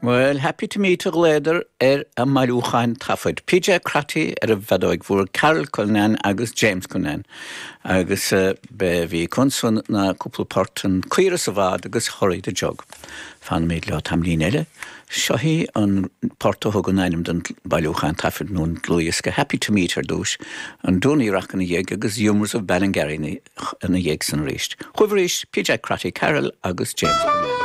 Bhuel, Happy to Meet a ghlaodar ar a mbailiúchán taifead. PJ Crotty ar an bhfeadóig mhór, Carol Cullinane agus James Cullinane. Agus b'é a bhí acu ansan ná cúpla port, An Caora sa Bhád agus Hurry the Jug. Fanfaimid leo tamaillín eile. Seo í an port a thugann ainm don bailiúchán taifead nó an dlúthdhiosca, Happy to Meet ar dtús, an Dooney Rock ina dhiaidh agus Humours of Ballingarry ina dhiaidh san arís. Chugaibh arís, PJ Crotty, Carol agus James Cullinane.